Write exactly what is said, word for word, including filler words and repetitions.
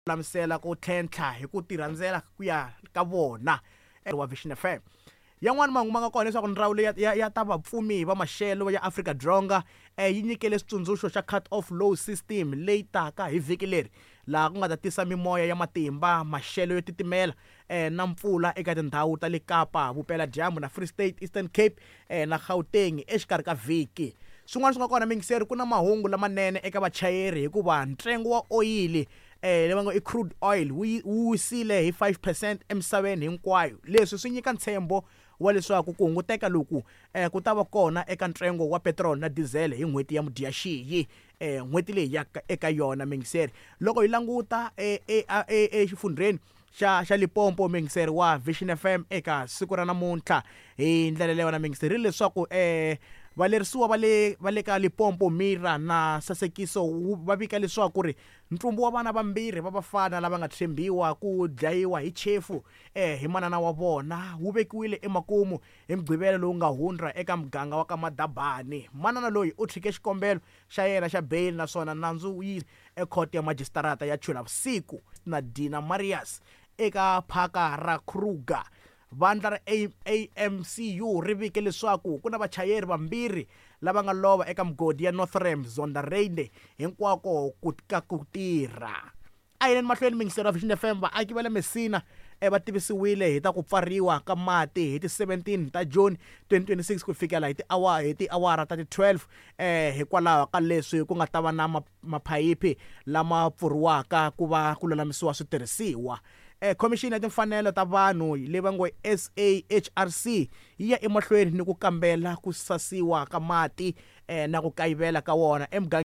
Lulamisela ku tlhentlha hi ku tirhandzela ku ya ka vona wa Vision F M. Yan'wani mahungu ma nga kona leswaku ndzawulo ya, ya, ya ta vapfumi va maxelo ya Afrika-Dzonga eh, yi nyikele xitsundzuxo xa cut off low system leyi taka hi vhiki leri, laha ku nga ta tisa mimoya ya matimba, maxelo yo titimela eh, na mpfula eka tindhawu ta le Kapa Vupeladyambu na Free State, Eastern Cape eh, na Gauteng exikarhi ka vhiki. Swin'wana swi nga kona, mingiseri, ku na mahungu lamanene eka vachayeri hikuva ntsengo wa oyili eh leyi va ngo i crude oil wu wu wisile hi five percent emisaveni hinkwayo. Leswi swi nyika ntshembo wa leswaku ku hunguteka loku eh, ku ta va kona eka ntsengo wa petrol na diesel hi n'hweti ya Mudyaxihi, eh n'hweti leyi ya eka yona. Mingiseri, loko hi languta exifundzheni xa xa Limpopo, mingiseri wa Vision F M, eka siku ra namuntlha hi ndlela leyi wona, mingiseri, leswaku eh valerisiwa va le va le ka Limpopo Mira na Sasekiso va vika leswaku ri ntsumbu wa vana vambirhi va vafana lava nga tshembiwa ku dlayiwa hi chefu eh hi manana wa vona wu vekiwile emakumu hi Mugqivela lowu nga hundza eka muganga wa ka Madabani. Manana loyi u tshike xikombelo xa yena xa beyili naswona nandzu wu yi ekhoto ya majisitarata ya Chulavusiku na Dina Marius eka phaka ra Kruger. Vandla ra A M C U ri vike leswaku ku na vachayeri vambirhi lava nga lova eka migodi ya Northam Zondereinde hinkwako ku ka ku tirha. A yineni mahlweni, mingiselo wa Vision F M. Vaaki va le Messina eh, va tivisiwile hi ta ku pfariwa ka mati hi ti seventeen ta June twenty twenty-six ku fikela hi tiawara hi tiawara ta ti twelve eh hikwalaho ka leswi ku nga ta va na maphayiphi lama pfuriwaka ku va ku lulamisiwa switirhisiwa. eh Khomixini ya timfanelo ta vanhu leyi va ngo S A H R C yi ya emahlweni ni ku kambela ku sasiwa ka mati eh na ku kayivela ka wona emugangeni.